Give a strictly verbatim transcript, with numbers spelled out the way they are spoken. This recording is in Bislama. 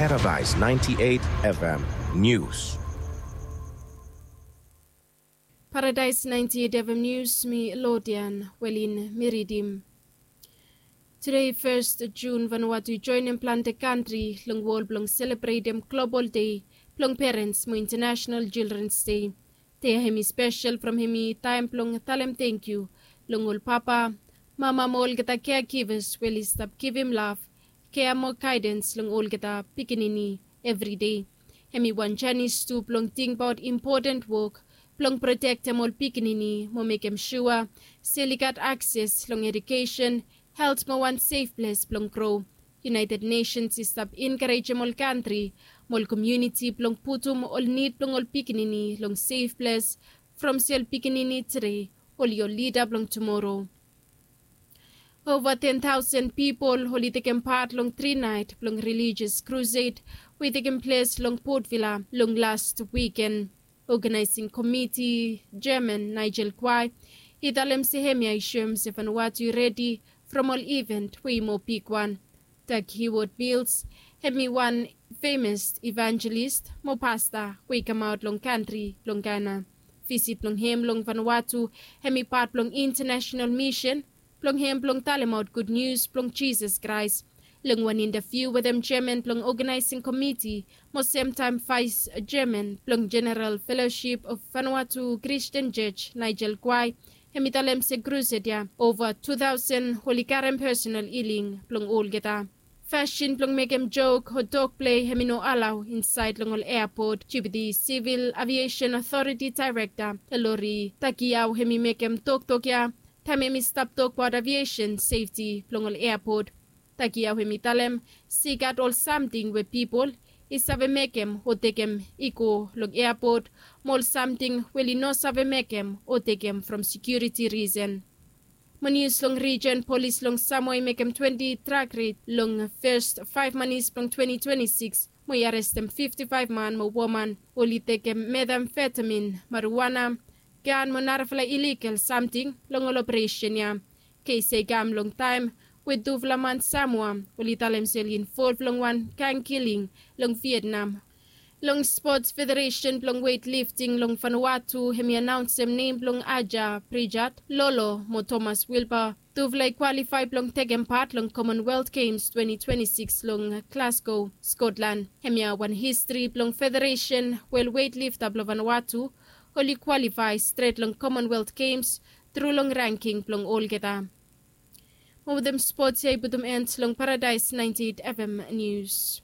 Paradise ninety-eight F M News. Paradise ninety-eight F M News, mi Lodian Welin mi ridim. Tede fes Jun, Vanuatu i joenem plante kantri long wol blong selebretem Global Day blong Perens mo International Children's Day. Dei ya hemi spesel from hemi taem blong talem tangkiu long ol papa, mama mo olgeta caregivers we oli stap givim lav, kea mo gaedens long olgeta pikinini evri dei. Hemi wan janis tu blong tingbaot impoten wok blong protektem ol pikinini mo mekem sua se oli gat akses long edukesen, helt mo wan sef ples blong gro. United Nations i stap enkarejem ol kantri mo ol komuniti blong putum ol nid blong ol pikinini long sef ples, from se ol pikinini tede oli ol lida blong tumoro. Ova ten taosen pipol oli tekem pat long tri naet blong relijios krused we i tekem ples long Port Vila long las wiken. Oganaesing komiti jeaman Nigel Quaye i talem se hemia i soem se Vanuatu i redi from ol iven we i moa bigwan. Doug Heward Mills, hemi wan femes evanjelis mo pasta we i kamaot long kantri blong Gana. Visit blong hem long Vanuatu hemi pat blong International Mission blong hem blong talemaot gud nius blong Jisas Kraes. Long wan intaviu wetem jeaman blong oganaesing komiti mo semtaem vaes jeaman blong Jeneral Felosip of Vanuatu Kristian Jos, Nigel Quaye, hemi talem se krused ya ova tu taosen oli karem pesonal iling blong olgeta. Fasin blong mekem jok o tokplei hemi no alao insaed long ol eapot. Jupiti Sivil Aviesen Otoriti Daerekta Elori Takiao hemi mekem toktok ya taem hemi stap tokbaot aviesen sefti blong ol eapot. Takiao hemi talem se i gat ol samting we pipol i save mekem o tekem i go long eapot mo ol samting we oli no save mekem o tekem from sekiuriti risen. Mo nius long rijen, polis long Samoa i mekem twenti drak red long fes faef manis blong twenti twenti sikis mo i arestem fifti faef man mo woman we oli tekem metamfetamin, mariwana, gan mo narafala iligal samting long ol operesen ya. Kes ya i kam long taem we tufala man Samoa oli talem se oli involv long wan gang kiling long Vietnam. Long spots, federesen blong weightlifting long Vanuatu hemi anaonsem nem blong Aja Pritchard Lolo mo Thomas Wilbur. Tufala i kwalifae blong tekem pat long Commonwealth Games twenti twenti sikis long Glasgow, Scotland. Hemia wan histri blong federesen we ol weightlifter blong Vanuatu oli kwalifae stret long Commonwealth Games tru long ranking blong olgeta. Mo wetem spots ya i putum en long Paradise ninety-eight F M News.